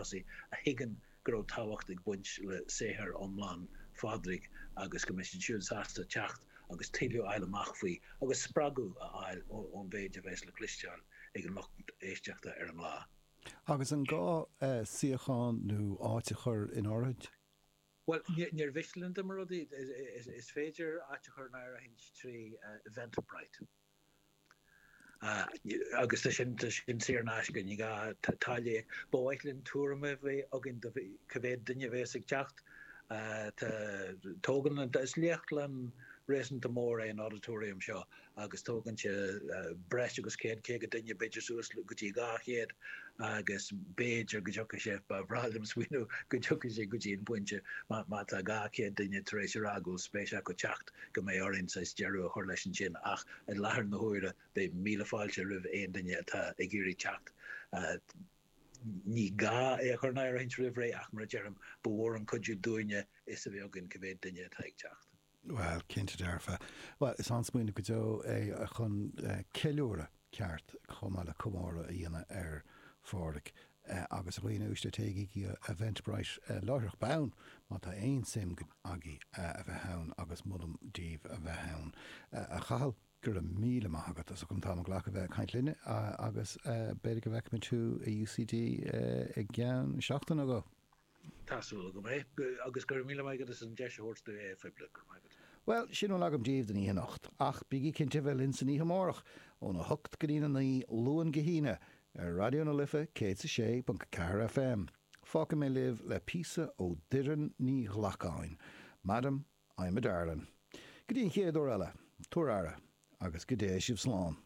tosaigh a thuigeann go raibh tábhacht ag baint le saothar iomlán Phádraig agus go mbeidh siad siúd sásta teacht agus tuilleadh a fháil amach faoi agus spreagadh a fháil ón mhéid a bheas le cloisteáil ag an lucht éisteachta ar an lá. Agus an gá suíochán nó áit a chur in áirithint? Bhuel, níor mhiste linn dá mba rud é. Is féidir áit a chur in áirithint trí Eventbrite. Agus tá sin, tá sin saor in aisce, ní gá táille a íoc. Ba mhaith linn tuairim a bheith againn de cá mhéad duine a bheas ag teacht. Tá, tógann an, is léachtlann réasúnta mór é an auditorium seo agus tógann sé breis agus 100, 50 duine, b'fhéidir suas go dtí 200 agus b'fhéidir go dtiocfaidh sé, ba bhreá liom smaoineamh go dtiocfaidh sé go dtí an pointe má tá 200 duine tar éis a rá go bhfuil spéis acu teacht go mbeidh orainn saghas deireadh a chur leis ansin ach i láthair na huaire beidh míle fáilte roimh aon duine atá ag iarraidh teacht. Ní gá é a chur in áirithint roimh ré ach mar a deirim, ba mhór an cuidiú dúinne fhios a bheith againn cá mhéad duine atá ag teacht. Bhuel, cinnte dearfa. Bhuel, is an-smaoineamh go deo é chun ceiliúradh ceart chomh maith le comóradh a dhéanamh ar Phádraic. Agus a dhaoine uaisle, téigí go Eventbrite láithreach bonn má tá aon suim agaibh a bheith ann agus molaim daoibh a bheith ann. A Chathail, go raibh míle maith agat as ucht an t-am a ghlacadh a bheith ag caint linne agus b'fhéidir go bhfeicfimid thú i UCD i gceann seachtain nó dhó. Tá súil agam é, agus go raibh míle maith agat as an deis a thabhairt domh é a phoibliú. Go raibh maith agat. Bhuel, sin a bhfuil agam daoibh don oíche anocht, ach bígí cinnte a bheith linn san oíche amárach, óna hocht go dtína naoi, Luan go hAoine, ar Raidió na Life 106.4 FM. Fágfaidh mé libh le píosa ó Doireann Ní Ghlacáin, Madam, I'm a Darlin'. Go dtí an chéad uair eile, tabhair aire, agus go dté sibh slán.